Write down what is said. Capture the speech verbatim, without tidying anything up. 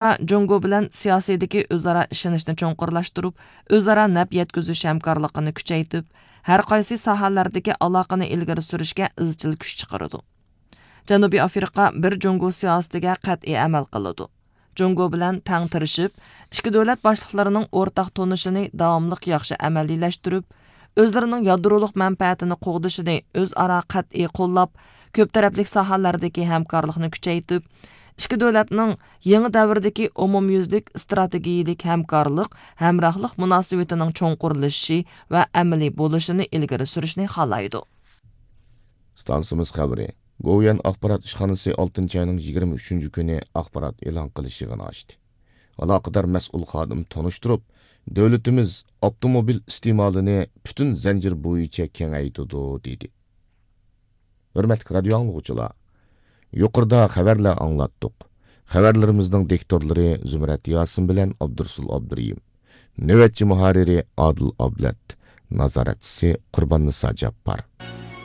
جۇڭگو بىلەن سىياسىيدىكى ئۆزئارا ئىشىنىشنى چوڭقۇرلاشتۇرۇپ، ئۆزئارا نەپ يەتكۈزۈش ھەمكارلىقىنى كۈچەيتىپ، ھەر قايسى ساھەلەردىكى ئالاقىنى ئىلگىرى سۈرۈشكە ئىزچىل كۈچ چىقىرىدۇ. جەنۇبىي ئافرىقا بىر جۇڭگو سىياسىتىگە قەتئىي ئەمەل قىلىدۇ. جۇڭگو بىلەن تەڭ تىرىشىپ، ئىككى دۆلەت باشلىقلىرىنىڭ ئورتاق تونۇشىنى داۋاملىق ياخشى ئەمەلىيلەشتۈرۈپ، ئۆزلىرىنىڭ يادرولۇق مەنپەئەتىنى قوغدىشىنى ئۆزئارا قەتئىي قوللاپ، كۆپ تەرەپلىك ساھەلەردىكى ھەمكارلىقنى كۈچەيتىپ، ئىككى دۆلەتنىڭ يېڭى دەۋردىكى ئومۇميۈزلۈك ئىستراتېگىيىلىك ھەمكارلىق، ھەمراھلىق مۇناسىۋىتىنىڭ چوڭقۇرلىشىشى ۋە ئەمەلىي بولۇشىنى ئىلگىرى سۈرۈشنى خالايدۇ. ئىستانسىمىز خەۋىرى. گوۋۇيۈەن ئاخبارات ئىشخانىسى ئالتىنچى ئاينىڭ يىگىرمە ئۈچىنچى كۈنى ئاخبارات ئېلان قىلىش يىغىنى ئاچتى. ئالاقىدار مەسئۇل خادىم تونۇشتۇرۇپ، دۆلىتىمىز ئاپتوموبىل ئىستېمالىنى پۈتۈن زەنجىر بويىچە كېڭەيتىدۇ، دېدى. ھۆرمەتلىك رادىيو ئاڭلىغۇچىلار، يۇقىرىدا خەۋەرلەر ئاڭلاتتۇق. خەۋەرلىرىمىزنىڭ دىكتورلىرى زۇمرەت ياسىن بىلەن ئابدۇرۇسۇل ئابدۇرېھىم. نۆۋەتچى مۇھەررىرى ئادىل ئابلەت. نازارەتچىسى قۇرباننىسا جاپپار.